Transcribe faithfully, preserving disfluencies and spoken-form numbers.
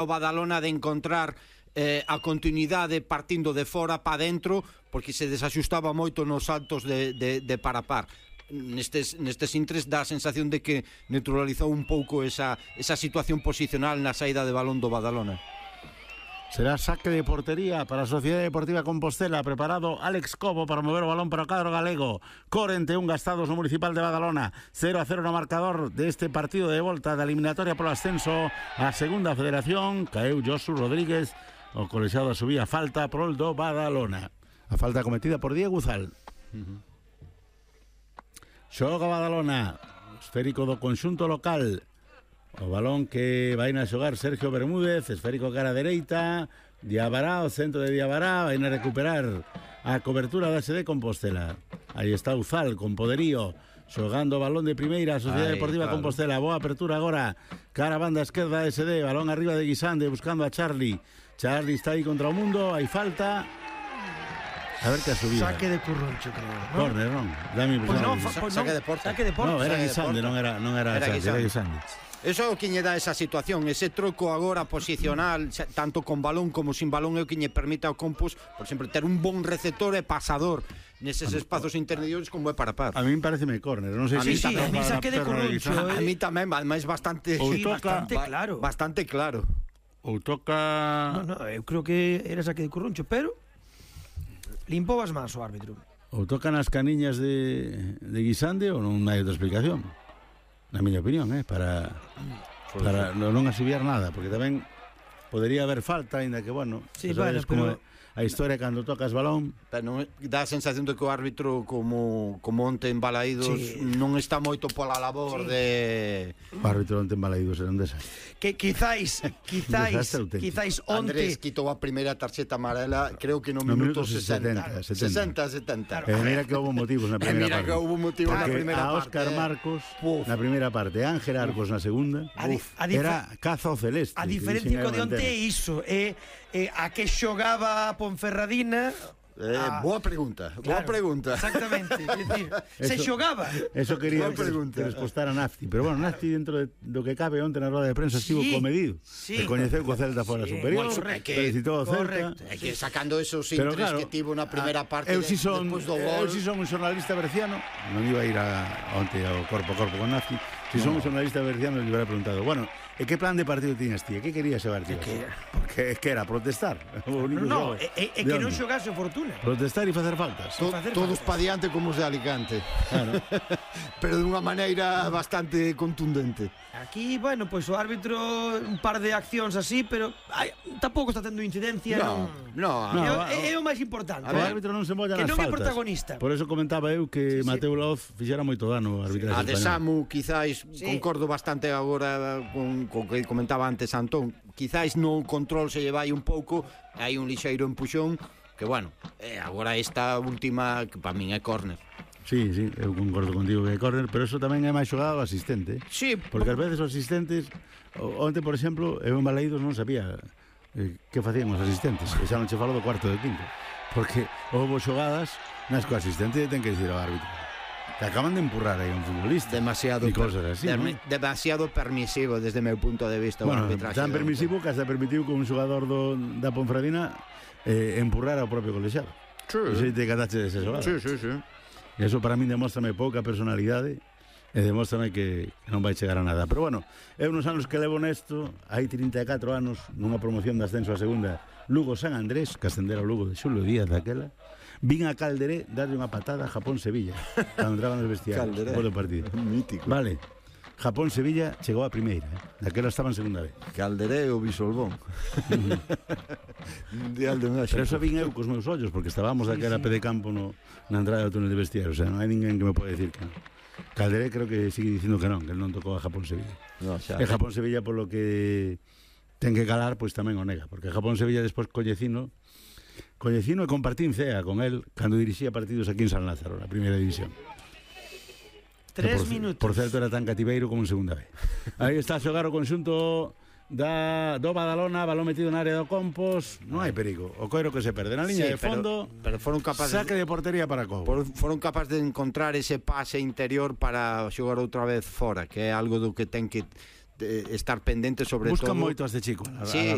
o Badalona de encontrar eh, a continuidade partindo de fora para dentro, porque se desaxustaba moito nos saltos de, de, de parapar. Nestes, nestes intres dá a sensación de que neutralizou un pouco esa, esa situación posicional na saída de balón do Badalona. Será saque de portería para a Sociedade Deportiva Compostela. Preparado Alex Cobo para mover o balón para o cadro galego. corenta e un gastados no Municipal de Badalona. cero a cero no marcador deste partido de volta da eliminatoria polo ascenso a segunda federación. Caeu Josu Rodríguez. O colexiado subía falta prol do Badalona. A falta cometida por Diego Uzal. Uh-huh. Xoga Badalona. Esférico do conxunto local. O balón que vai na xogar Sergio Bermúdez, esférico cara dereita, Diabará, o centro de Diabará, vai na recuperar a cobertura da S D Compostela. Aí está Uzal con poderío, xogando o balón de primeira a Sociedade Ay, Deportiva claro. Compostela. Boa apertura agora, cara a banda esquerda S D, balón arriba de Guisande buscando a Charlie. Charlie está aí contra o mundo, hai falta. A ver que a subida. Saque de Curroncho, creo, ¿no? Corner, non? Dame pues no, pues saque no, de porta. Saque de porta. No, era Guisande, non era, non era, era Charlie, era Guisande. Eso é o que lle dá esa situación, ese troco agora posicional, tanto con balón como sin balón, é o que lle permite ao Compos, por exemplo, ter un bon receptor e pasador neses espazos intermedios como é para par. A mí me parece me córner, non sei se si sí, a mí saque de Curroncho. A mí tamén, máis bastante sí, bastante claro. Bastante claro. Ou toca... No, no, eu creo que era saque de Curroncho, pero limpou as mans o árbitro. Ou tocan as caniñas de, de Guisande ou non hai outra explicación. Na miña opinión, eh, para para non asubiar nada, porque tamén podería haber falta, ainda que, bueno, sí, bueno, como pero... a historia cando tocas balón. Pero non, dá a sensación de que o árbitro, como, como onte en Balaídos, sí. non está moito pola labor sí. de... O árbitro onte en Balaídos era un desastre. Que quizáis, quizáis, quizáis onte... Andrés quitou a primeira tarxeta amarela, creo que no, no minuto sesenta. sesenta, setenta. E mira que houve motivos na primeira mira parte. Mira que houve motivos na primeira parte. A parte, Óscar eh. Marcos Uf. na primeira parte, Ángel Arcos na segunda. A di, a era caza ao celeste. A diferencia co de onte é iso, é eh, a que xogaba Ponferradina. Eh, ah, boa pregunta, claro, boa pregunta. Exactamente, es decir, se xogaba. Eso quería que, que respostara Nafti, pero bueno, Nafti dentro de, do que cabe onte na roda de prensa estivo sí, comedido. Sí. E coñeceu co Celta fora sí, superior, bueno, que, felicitou ao Celta. É que sacando esos intres claro, que tivo na primeira parte eu si son, despois do gol. Eu si son un xornalista berciano, non iba a ir a, onte ao corpo a corpo con Nafti. Si no. son un xornalista berciano, le hubiera preguntado, bueno, e que plan de partido tiñas ti? E que querías xogar ti? Que Porque que era protestar. No, no, é, é que non xogase o Fortuna. Protestar e facer faltas. To, facer todos faltas. Pa diante como os de Alicante. Claro. Pero de unha maneira bastante contundente. Aquí, bueno, pois pues, o árbitro un par de accións así, pero ay, tampouco está tendo incidencia. No, no, no, no, é, é o máis importante. O árbitro non se molla nas faltas. Que non é protagonista. Por eso comentaba eu que sí, Mateo sí. Laoz fixera moito dano ao arbitraxe español. A de Samu, quizáis, sí. concordo bastante agora con, con que comentaba antes Antón, quizáis no control se lle vai un pouco, hai un lixeiro empuxón, que bueno, eh, agora esta última, que para min é córner. Sí, sí, eu concordo contigo que é córner, pero eso tamén é máis xogado ao asistente. Sí. Porque ás veces os asistentes, onte, por exemplo, eu en Balaídos non sabía eh, que facían os asistentes, e xa non che falo do cuarto de quinto, porque houve xogadas nas que o asistente ten que dicir ao árbitro que acaban de empurrar aí un futbolista. Demasiado, e cosas así, per, ¿no? Demasiado permisivo desde o meu punto de vista. Bueno, tan permisivo que hasta permitiu que un xogador do, da Ponferradina eh, empurrara ao propio colexiado. Sí. E se te catache desa xogada. Sí, sí, sí. E eso para min demóstrame pouca personalidade e demóstrame que non vai chegar a nada. Pero bueno, eu nos anos que levo nesto, hai trinta e catro anos, nunha promoción de ascenso a segunda, Lugo San Andrés, que ascendera o Lugo de Xulio Díaz daquela, vin a Calderé darlle unha patada a Japón-Sevilla cando entraban nos vestiarios por o partido. Mítico. Vale, Japón-Sevilla chegou a primeira, eh? Daquela estaba en segunda vez. Calderé ou Bisolbón. Mundial de México. Pero eso vin eu cos meus ollos, porque estábamos sí, daquela sí. pé de campo no, na entrada do túnel de vestiarios. O sea, non hai ninguén que me pode decir que non. Calderé creo que sigue dicindo que non, que non tocou a Japón-Sevilla. No, xa, e Japón-Sevilla, polo que ten que calar, pois tamén o nega, porque Japón-Sevilla despois Collecino Collecino e compartín cea con el cando dirixía partidos aquí en San Lázaro, na primeira división. Tres por, minutos. Por certo, era tan cativeiro como en segunda vez. Aí está a xogar o conxunto da, do Badalona, balón metido na área do Compos. Non hai perigo, o coiro que se perde na liña sí, de fondo, pero, pero foron capaces saque de portería para Cobo. Foron capaces de encontrar ese pase interior para xogar outra vez fora, que é algo do que ten que estar pendente sobre buscan todo. Buscan moito a este chico. A, sí, a